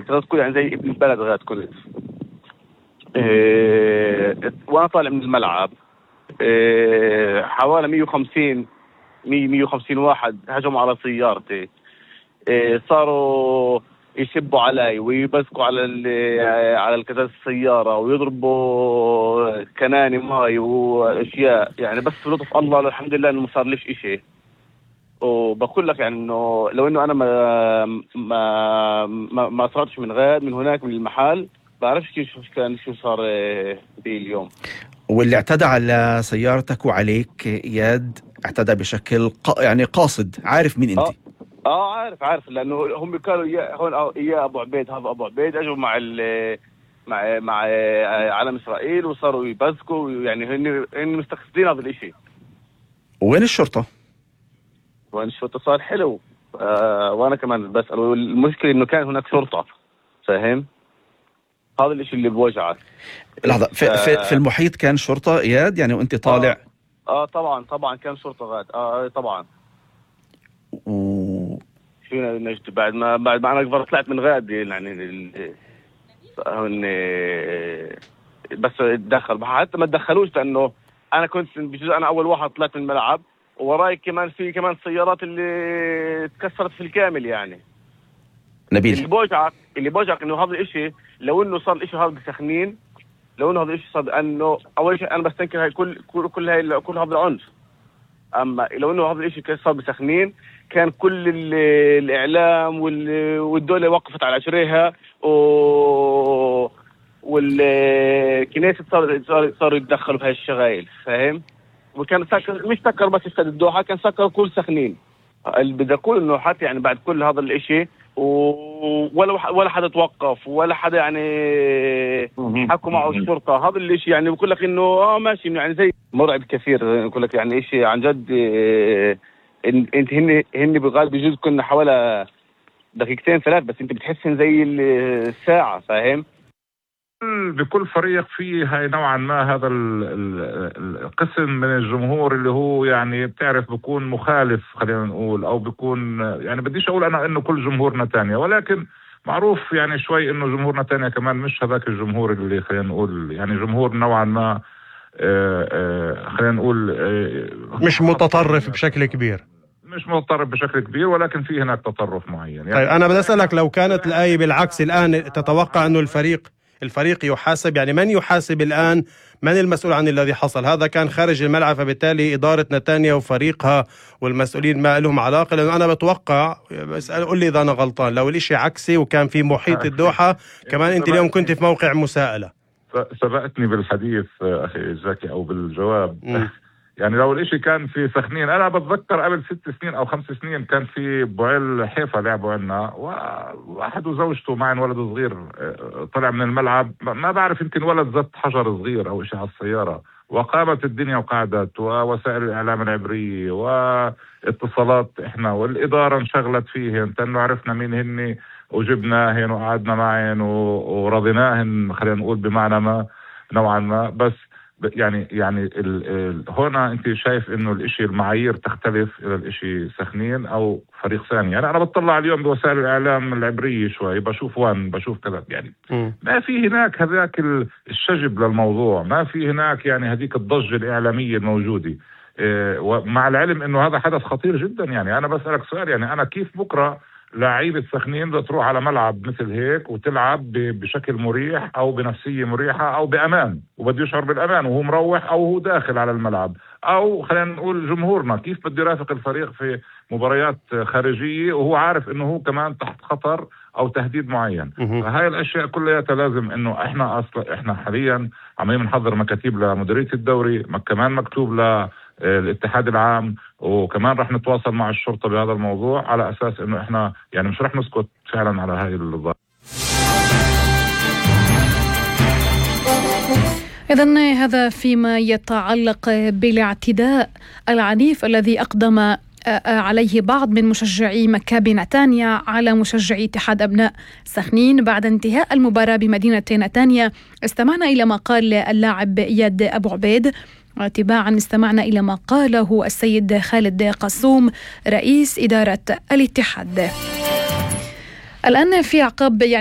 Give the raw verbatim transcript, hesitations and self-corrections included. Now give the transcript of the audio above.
غاد كل يعني زي ابن البلد غاد كنت. إيه وانا طالع من الملعب إيه حوالي مية وخمسين مية مية وخمسين واحد هجموا على سيارتي. إيه صاروا يشبوا علي ويبزقوا على على الكزاز السيارة ويضربوا كناني ماي واشياء يعني، بس بلطف الله الحمد لله انه ما صار ليش اشي. وبقول لك يعني انه لو انه انا ما ما ما, ما صارتش من غاد من هناك من المحل بعرفش كيف كان شو صار بي اليوم. واللي اعتدى على سيارتك وعليك اياد اعتدى بشكل ق... يعني قاصد، عارف مين انت؟ اه, آه عارف عارف لانه هم كانوا يا هون يا ابو عبيد، هذا ابو عبيد اجوا مع ال مع مع علم اسرائيل وصاروا يبزقوا يعني هن هن مستقصدين هذا الاشي. وين الشرطة؟ وين الشرطة صار حلو. آه وانا كمان بسأل، والمشكلة انه كان هناك شرطة، فاهم؟ هذا الاشي اللي بوجعك. لحظة، في, في, في المحيط كان شرطة اياد يعني وانت طالع؟ اه, آه طبعا طبعا كان شرطة غاد اه طبعا. و شو نجد بعد ما بعد ما انا طلعت من غاد يعني هن بس اتدخل، حتى ما تدخلوش لانه انا كنت بجزء انا اول واحد طلعت من الملعب، وراي كمان في كمان سيارات اللي تكسرت في الكامل يعني. نبيل اللي بوجعك اللي بوجعك انه هذا الاشي لو انه صار الاشي هذا بسخنين، لو انه هذا الاشي صار انه اول شيء انا بستنكر هاي كل كل كل هاي كل هذا العنف. اما لو انه هذا الاشي صار بسخنين كان كل الاعلام والدولة وقفت على عشريها و والكنيسة صار صار صاروا يتدخلوا بهاي الشغايل، فاهم؟ وكان سكر مش سكر بس استاد الدوحة، كان سكر كل سخنين. اللي بدي اقول انه حتى يعني بعد كل هذا الاشي ولا ولا حدا توقف ولا حدا يعني حكوا معه الشرطة. هذا الاشي يعني بقول لك انه اه ماشي يعني زي مرعب كثير. بقول لك يعني اشي عن جد. انت هن هن بغالب بيجوز كنا حوالي دقيقتين ثلاث، بس انت بتحسن زي الساعة، فاهم؟ بكل فريق فيه هاي نوعا ما هذا القسم من الجمهور اللي هو يعني بتعرف بيكون مخالف، خلينا نقول، او بيكون يعني بديش اقول انا انه كل جمهور نتانيا، ولكن معروف يعني شوي انه جمهور نتانيا كمان مش هذاك الجمهور اللي خلينا نقول يعني جمهور نوعا ما آآ آآ خلينا نقول مش متطرف بشكل كبير، مش متطرف بشكل كبير، ولكن في هناك تطرف معين يعني. طيب انا بدي اسالك، لو كانت الآية بالعكس الان تتوقع انه الفريق الفريق يحاسب؟ يعني من يحاسب الآن؟ من المسؤول عن الذي حصل؟ هذا كان خارج الملعب، فبالتالي إدارة نتانيا وفريقها والمسؤولين ما لهم علاقة. لأنه أنا بتوقع، بس قل لي إذا أنا غلطان، لو الاشي عكسي وكان في محيط الدوحة كمان أنت اليوم كنت في موقع مساءلة. سبقتني بالحديث أخي زكي أو بالجواب. م. يعني لو الاشي كان في سخنين، انا بتذكر قبل ست سنين او خمس سنين كان في بوعيل حيفا لعبوا عنا، وواحد وزوجته معن ولد صغير طلع من الملعب، ما بعرف يمكن ولد زت حجر صغير او اشي على السيارة، وقامت الدنيا وقعدت، ووسائل الاعلام العبرية واتصالات احنا والادارة انشغلت فيهن، لانه عرفنا مين هن وجبناهن وقعدنا معهن ورضيناهن، خلينا نقول بمعنى ما نوعا ما. بس يعني يعني ال ال هنا انت شايف انه الاشي المعايير تختلف الى الاشي سخنين او فريق ثاني. يعني انا بطلع اليوم بوسائل الاعلام العبرية شوي، بشوف وان بشوف كذا، يعني م. ما في هناك هذاك الشجب للموضوع، ما في هناك يعني هذيك الضجة الاعلامية الموجودة. إيه، ومع العلم انه هذا حدث خطير جدا. يعني انا بسألك سؤال، يعني انا كيف بكرة لاعيبة سخنين بدها تروح على ملعب مثل هيك وتلعب بشكل مريح او بنفسية مريحة او بامان، وبده يشعر بالامان وهو مروح او هو داخل على الملعب، او خلينا نقول جمهورنا كيف بده يرافق الفريق في مباريات خارجية وهو عارف انه هو كمان تحت خطر او تهديد معين. فهاي الاشياء كلها لازم انه احنا اصلا احنا حاليا عمالين نحضر مكاتيب لمديرية الدوري، كمان مكتوب ل الاتحاد العام، وكمان رح نتواصل مع الشرطة بهذا الموضوع على أساس إنه إحنا يعني مش رح نسكت فعلا على هاي الظاهرة. إذن هذا فيما يتعلق بالاعتداء العنيف الذي أقدم عليه بعض من مشجعي مكابي نتانيا على مشجعي اتحاد أبناء سخنين بعد انتهاء المباراة بمدينة نتانيا. استمعنا إلى ما قال اللاعب إياد أبو عبيد، وتباعا استمعنا إلى ما قاله السيد خالد قصوم رئيس إدارة الاتحاد. الآن في عقاب يعني